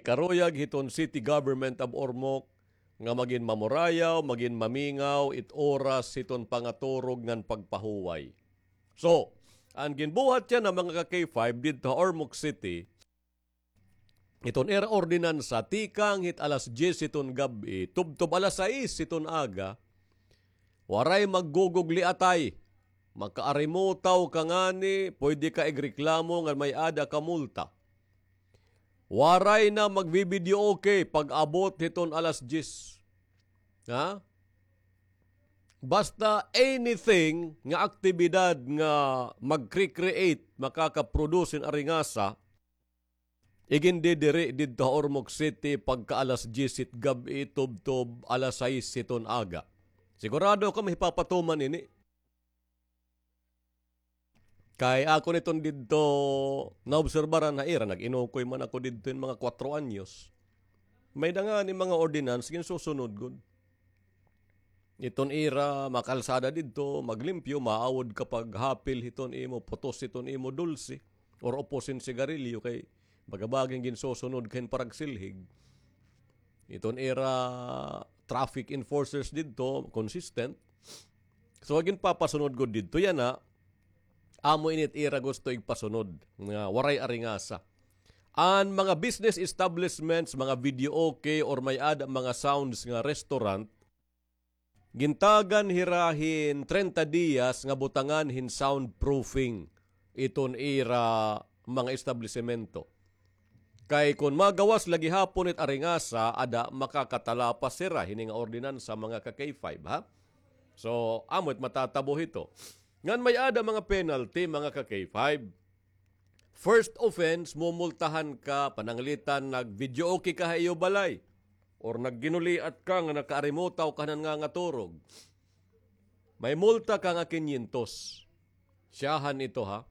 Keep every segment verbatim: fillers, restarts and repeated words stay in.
karuyag hiton City Government of Ormoc nga magin mamurayaw, magin mamingaw it oras hiton pangaturog ngan pagpahuway. So, an ginbuhat yana, mga ka-K five, didto ha Ormoc City, iton ira ordinansa, tikang hit alas diyes hiton gab-i, tubtob alas sais hiton aga, waray maggugugli atay. Makaarimutaw ka ngani, pwede ka igreklamo ngan may-ada ka multa. Waray na magbi-videoke pag-abot hiton alas diyes. Ha? Basta anything nga aktibidad nga magcre-create, makaka-produce hin aringasa, igindidiri didto ha Ormoc City pagka alas diyes hit gab-i tubtob alas sais hiton aga. Sigurado ako mahipapatuman ini. Kay akon iton didto naobserbaran ha ira, nag-inukoy man ako didto hin mga kwatro anyos. May-ada ngani mga ordinance ginsusunod gud. Iton ira makalsada didto, maglimpyo, maawod ka paghapil hiton imo, putos hiton imo dulce, or upos hin sigarilyo, kay baga-baga ginsusunod ka hin paragsilhig. Iton ira traffic enforcers didto, consistent. So, ginpapasunod gud didto yana, amo ini it ira gusto igpasunod nga waray aringasa. An mga business establishments, mga videoke, or may-ada mga sounds nga restaurant, gintagan hira hin treinta diyas nga butangan hin soundproofing iton ira mga establisemento. Kay kon magawas la gihapon it aringasa, ada makakatalapas hira hini nga ordinansa, mga ka-K five, ha? So, amo it matatabo hito. Ngan may-ada mga penalty, mga ka-K five. First offense, mumultahan ka, pananglitan, nag-videoke ka ha iyo balay, or nagginuliat ka nga nakaarimutaw ka han nangangaturog. May multa ka nga kinyentos. Siyahan ito, ha.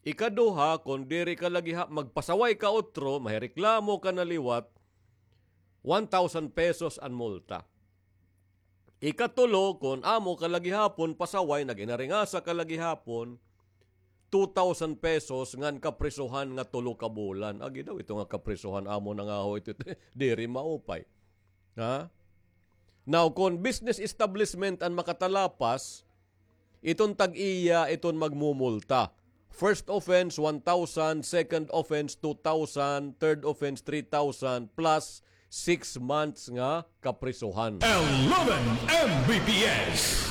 Ikaduha, kon diri ka la giha-, magpasaway ka utro, mahireklamo ka na liwat, one thousand pesos an multa. Ikatulo, kon amo ka la gihapon pasaway, nag-inaringasa ka la gihapon, two thousand pesos ngan kaprisohan nga tulo ka bulan. Agi daw ito nga kaprisohan, amo na nga ho ito, diri maupay. Ha? Now, kon business establishment an makatalapas, iton tag-iya iton magmumulta. First offense, one thousand, second offense, two thousand, third offense, three thousand, plus six months nga kaprisohan. Eleven M B P S.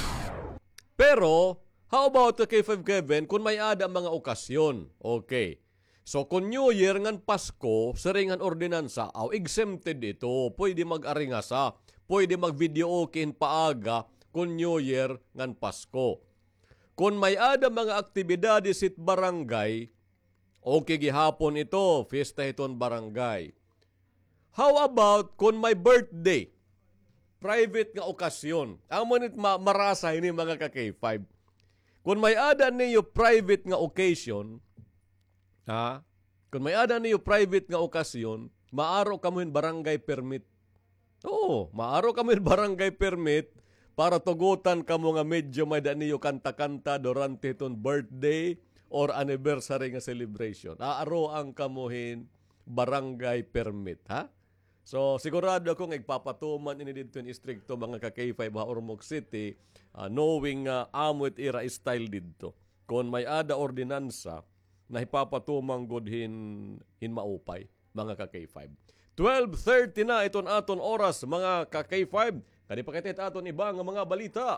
Pero, how about, ka-K five Kevin, kon may-ada mga okasyon? Okay. So, kon New Year ngan Pasko, siring han ordinansa, aw, exempted ito. Pwede mag-aringasa, pwede mag-videoke hin paaga, kon New Year ngan Pasko. Kon may-ada mga aktibidades hit barangay, okay gihapon ito, fiesta hiton barangay. How about kon may birthday? Private nga okasyon. Amo nit ma-, marasa ini, mga ka-K five. Kon may-ada niyo private nga occasion, ha? Kon may-ada niyo private nga okasyon, maaro kamo hin barangay permit. Oo, maaro kamo hin barangay permit para tugotan kamo nga medyo may-ada niyo kanta-kanta durante hiton birthday or anniversary nga celebration. Aaroan kamo hin barangay permit, ha? So, sigurado ako nga igpapatuman ini didto hin istrikto, mga ka-K five, ha Ormoc City, ah, knowing nga amo it ira style didto. Kon may-ada ordinansa, nahipapatuman gud hin, hin maupay, mga ka-K five. Twelve thirty na iton aton oras, mga ka-K five. Kadi pa kita it aton iba nga mga balita.